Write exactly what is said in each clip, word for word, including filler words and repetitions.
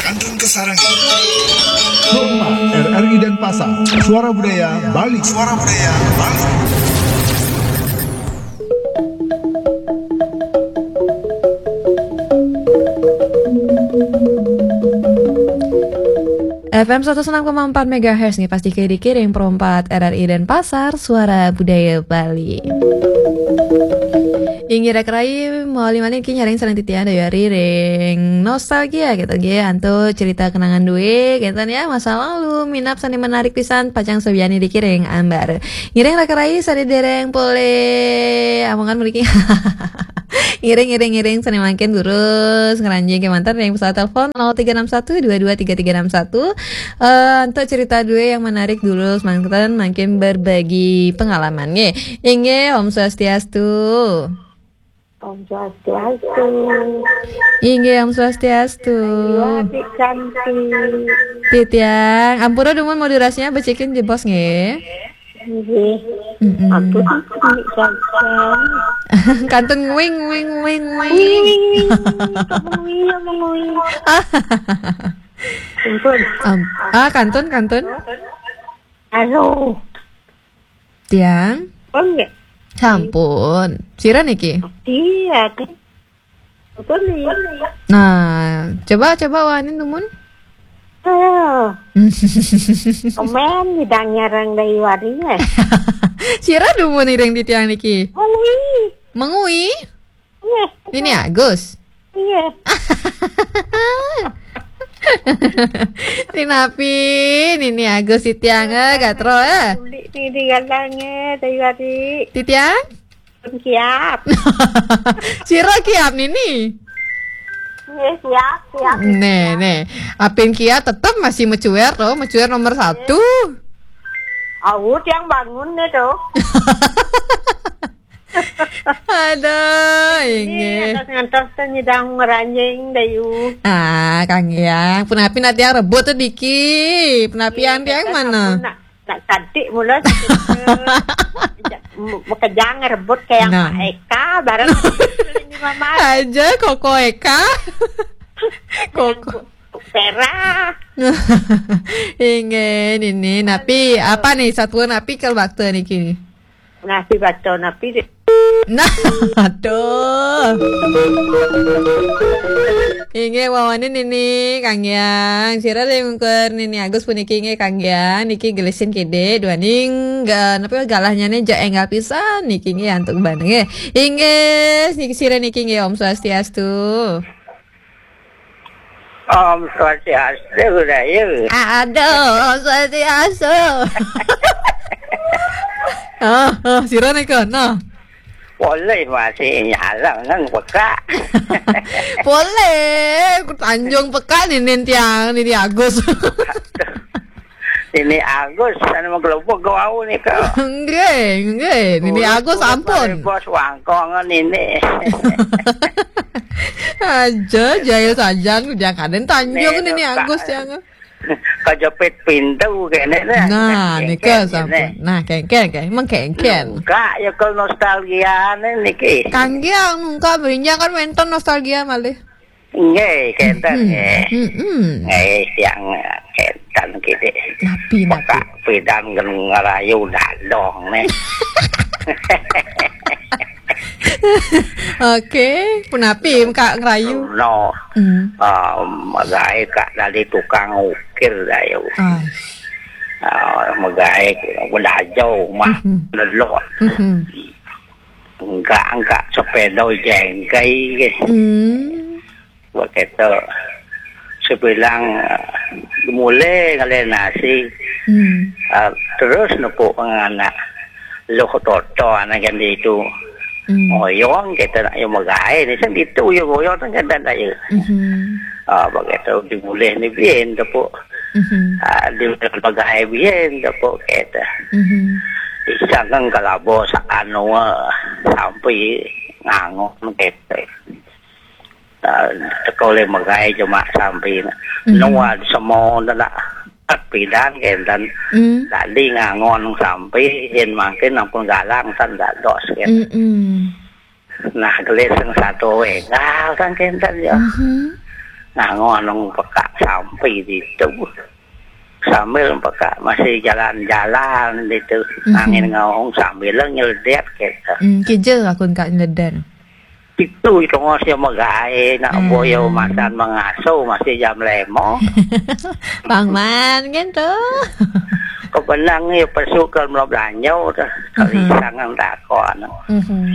Antun ke sarang. Rumah R R I Denpasar, Suara Budaya Bali. Suara Budaya Bali. F M seratus enam koma empat megahertz nih, pasti ke dikiring perempat R R I Denpasar, Suara Budaya Bali. Inggih raka rayi, mawali malih niki nyarengin sareng titiang Dayu Ari ring nostalgia gitu nggih, antuk cerita kenangan dué gitu ya, masa lalu, minab sané menarik pisan, pacang sabian niki ring ambar. Ngiring raka rayi, sané dereng polih amongan mriki. Ngiring, ngiring, ngiring, sané mangkin durus ngranjing kémanten ring pesawat telepon nol tiga enam satu dua dua tiga tiga enam satu. Eh, antuk cerita dué yang menarik durus mangkin, mangkin berbagi pengalaman nggih. Inggih, Om Swastiastu. Om Swastiastu. Inggih, Om Swastiastu. Ayu adik cantik. Titiang, ampura dumun modulasinya becikin jebos nggih. Nggih. Mm-mm. Aku cantik saja. Kantun nguing, nguing, nguing, nguing. Wing, wing, wing. Kamu wing, kamu wing. Ampun. Am-, ah, kantun, kantun. Halo. Tiang. Oh, nggih. Sampun. Sira niki? Iya, kan. Betul nih. Nah, coba, coba wanin dumun. Ayo. Komen bidang nyarang dari warinya. Sira dumun iring titiang niki. Mengui. Mengui? Iya. Nini Agus. Iya. Nini Agus titiang, eh, gatro, eh. Kulit ni di galangnya, dari wari. Titiang? Siap. Sira kiap nini. Iya, siap, siap. Nih, nih. Apin kiap tetap masih mecuer tuh, mecuer nomor satu. Awut yang bangun nih tuh. Aduh, inggih. Ngantos-ngantos tuh nyidang meranjing, Dayu. Ah, Kang Yang. Punapi nanti yang rebut tuh, Diki. Punapi yang tiang mana? Nak cantik mula. Bekejang rebut kayak Pak Eka, bareng ini Mama. Aja Koko Eka. Koko. Pera. Inggih, nini. Napi, apa nih? Satuan napi kal bakta niki? Napi bakta, napi di- Nah, aduh. Inggih, wawanin nini, Kang Yang. Sira ring ungkur nini Agus puniki inggih, Kang Yang. Niki gelisin kede, duaning, ga-, napa, galahnya nih, ja enggal pisan. Niki inggih, antuk ban, nggih. Inggih, niki sira niki inggih, Om Swastiastu. Om Swastiastu, Dayu. Aduh, Om Swastiastu. Ah, ah, sira nika, nah. Polih masih nyala nang pekak. Polih, ku Tanjung Pekak nini tiang, nini Agus. Nini Agus, anu menggelubuk ke wau nika. Nggih, nggih, nini Agus ampun. Bos wangkong nini. Aja, jahil sajan, jangan Tanjung nini Agus, jangan. Kejepit pintu kene nih. Nah, nika sampun. Nah, kengken, kengken. Mengkengken. Enggak, ya, kalau nostalgia nih niki. Kangge, enggak, berinjang kan wenten nostalgia malih. Nggih, kenten nggih. Mm-mm. Nggih, siang kenten kene. Napi, napi? Pekak pidan gen ngerayu dadong nih. Oke, punapi Kak ngerayu? No. Hmm. Ah, magaé Kak dari tukang ukir, Dayu. Ah. Ah, magaé bedajau mah. Mhm. Lelok. Mhm. Enggak, enggak sepeda jengkai. Hmm. Begitu. Sebilang, eh, mulai ngalih nasi. Hmm. Ah, terus nepuk anak. Loh, toto anak yang itu. Hmm. Ngoyong kita nak yang magaé ni, sen itu yang ngoyong kan, kan tak ya. Mhm. Ah, begitu dimulih ni bien tepuk. Mhm. Ah, di magaé bien tepuk kita. Mhm. Isang kan kalabo sa anu, ah, sampai ngangon kita. Ah, teka oleh magaé cuma sampai. Mhm. Nuan semua nak pidan kenten. Hmm. Tadi ngangon sampai, yen mangkin ampun galang tan dados kenten. Mm-mm. Nah, gelis sing satu wéngal kan kenten ya. Mhm. Nganggo nang pekak sampi ditu. Sambil pekak masih jalan-jalan ditu. Mhm. Angin ngawung sambil nyeledek gitu. Hmm, kija aku engka nyeledek. Itu itu ngos ya megai nak Hmm. boyo masan mengasuh masih jam lemo. Bang Man gitu. Kebenang ya pesu ke melo belanjo tu. Mhm. Kalisang nang takon. Mhm.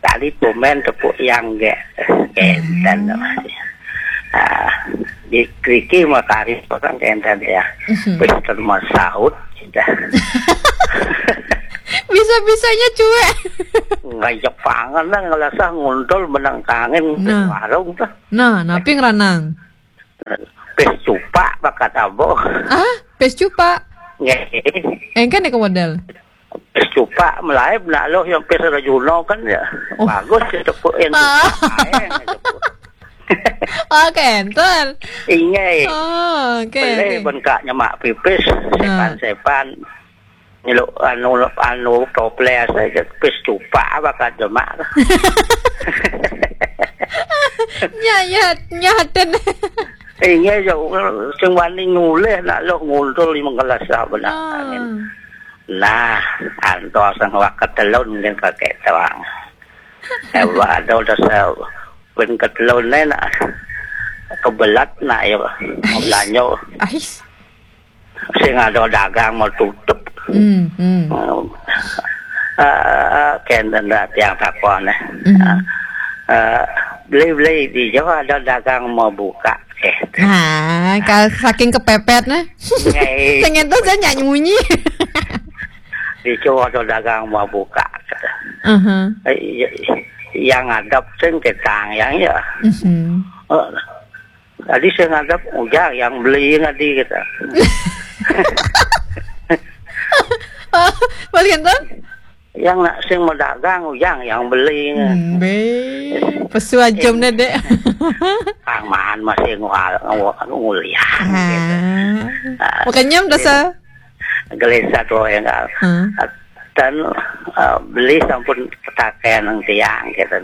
Tadi tumen tepuk yang ge. Kenten Hmm. masih. Ah, di Kriki mah karis orang kenten ya. Mhm. Pester mah saut. Dah. Bisa-bisanya cuek. Nggak Jepangan lah, ngelasah nguntul menang kangin Nah. warung tuh. Nah, napi ngeranang? Pes cupak bakat abo. Ah, pes cupak. Nggih. Engkan ya ke model. Pes cupak melaib nak lo yang pes Rajuno kan ya. Oh. Bagus ya tepuk yang Ah. cupak. Aeng ya tepuk. Oh, kenten. Ingai. Oh, oke, Boleh oke. Bengkaknya mak pipis, Nah. sepan-sepan. Nyeluk anu, anu toples aja, pis cupak apa kata mak. Nya, nya, nya, ten. Inge jauh, sing wani nyulih nak lo nguntul lima gelas lah benar. Ah. Nah, antos sang wakat telun mungkin kakek terang. Ewa ada udah sa-, pun ketelun ni nak kebelat nak ya, mau belanja. Ais. Sing ada dagang mau tutup. Hmm, hmm. Eh, eh, kenten dah tiang takon, eh. Hmm. Eh, eh, beli-beli di Jawa ada dagang mau buka, eh. Nah, kalau saking kepepet, nah. Ngai. Sing itu saya nyanyi munyi. Di Jawa ada dagang mau buka, kata. Aha. Eh, iya, yang ngadap sing ketang yang ya. Mhm. Eh, Tadi saya ngadap ujang yang beli tadi kita. Oh, balik kenten? Yang nak sing mau dagang ujang yang beli. Hmm, be. Pesu ajam Eh. dah, Dek. Kang Man masih ngual, ngual, nguliah. Ah. Ah. Makanya udah sa- Gelisah tu yang kan. Hmm. Dan, eh, beli sampun ketakean nang tiang, gitu.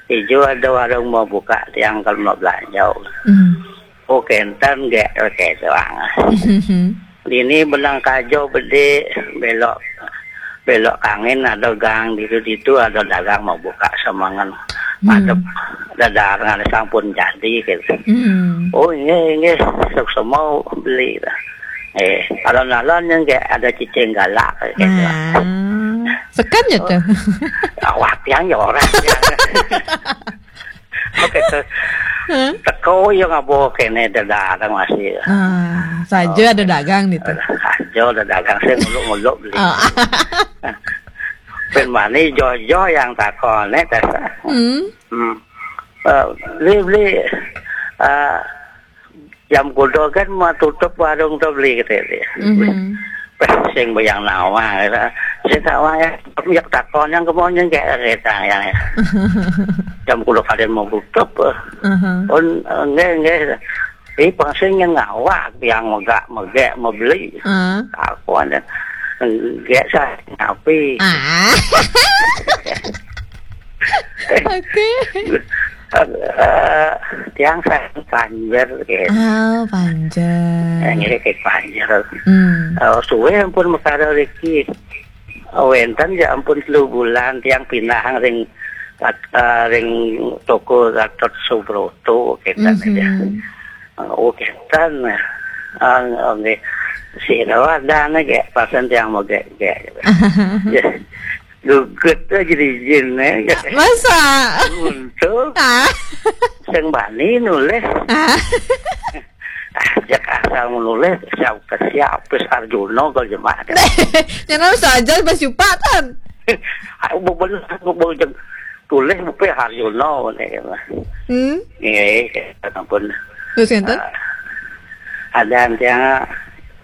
Ijo ada warung mau buka tiang kalau mau belanja. Hmm. Oh, kenten gak, oke, doang. Ini benang kajo bede, belok, belok kangin ada gang ditu-ditu ada dagang mau buka semangan. Hmm. Madep dadar ngan sampun jadi, gitu. Hmm. Oh, ini, ini, sok semau beli lah. Eh, alon-alon yang kayak ada cicing galak kayak gitu. Ah, sekan ya tuh. Awak yang ya orang yang. Oke, tuh. Hah? Teko yang ngabo kene dagang masih. Ah, saja Oh. ada dagang gitu. Saja ada dagang, saya nguluk-nguluk beli. Oh. Ben mani jojo yang takone, tesa. Hmm. Hmm. Eh, beli, beli, eh, jam kudo kan mau tutup warung tu beli, kata dia. Mhm. Pas sing bayang nawa, kata. Sing nawa ya, ya takon yang kemauan yang kayak kita yang ya. Jam kudo kalian mau tutup, eh. Mhm. Pun, eh, enggak, enggak. Eh, pasing yang ngawak, yang megak, megak, mau beli. Ah. Aku ada, enggak saya ngapi. Ah. Oke. Eh, tiang saya panjer, gitu. Ah, panjer. Yang ini kayak panjer. Hmm. Eh, suwe ampun mekara riki. Wenten ya ampun telu bulan tiang pindah ring, eh, ring toko Gatot Subroto, gitu Mhm. aja. Oh, kenten. Ah, nggih. Sira wadane gek pasen tiang mau gek, gek. Ya. Gugut aja di jin, eh. Masa? Untuk Ah. sing bani nulis. Ah. Ah, cek asal nulis, siap ke siap, terus Arjuna ke jemaah. Nyana saja bas jupa, tan. Aku bener, aku bener. Tulis bupe Haryono ni. Hmm? Nggih, ampun. Terus enten? Ah, ada yang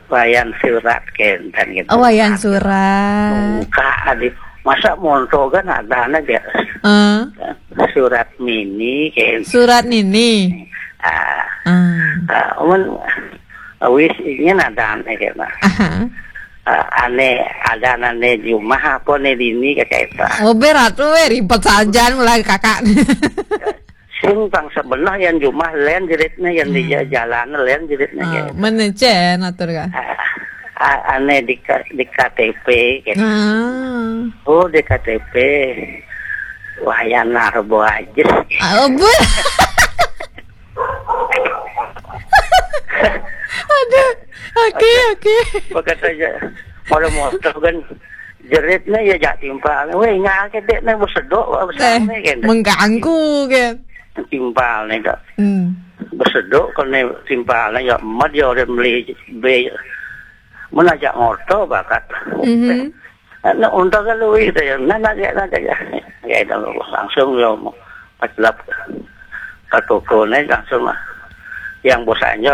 wayan surat kenten gitu. Oh, wayan surat. Buka adi. Masa monto kan ada aja. Ah. Surat mini kenten. Surat nini. Ah. Ah. Ah, mun wis ingin ada nih gitu. Aha. Ah, ane ada nane di rumah apa nih dini kayak itu. Oh, berat we, ribet saja mulai kakak. Sing pang sebenah yang jumah len jeritnya, yang di jalan len jeritnya. Ah, kayak. Mana cen atur ka? Ah, ah, aneh di K-, di K T P kayak. Ah. Oh, di K T P. Wah, yang narbo aja. Ah, oh, bu-, aduh. Oke, oke. Bekas aja. Kalau motor kan jeritnya ya jak timpal. Weh, nggak ada dek nih bersedok, eh, kan. Mengganggu kan. Timpal nih, Kak. Hmm. Bersedok kan nih timpal nih, ya, mat ya udah beli be. Menajak motor bakat. Mhm. Nah, untung kan lu itu ya. Nah, nah, ya, nah, ya. Ya, itu langsung ya mau pas lap ke toko nih langsung lah. Yang bosannya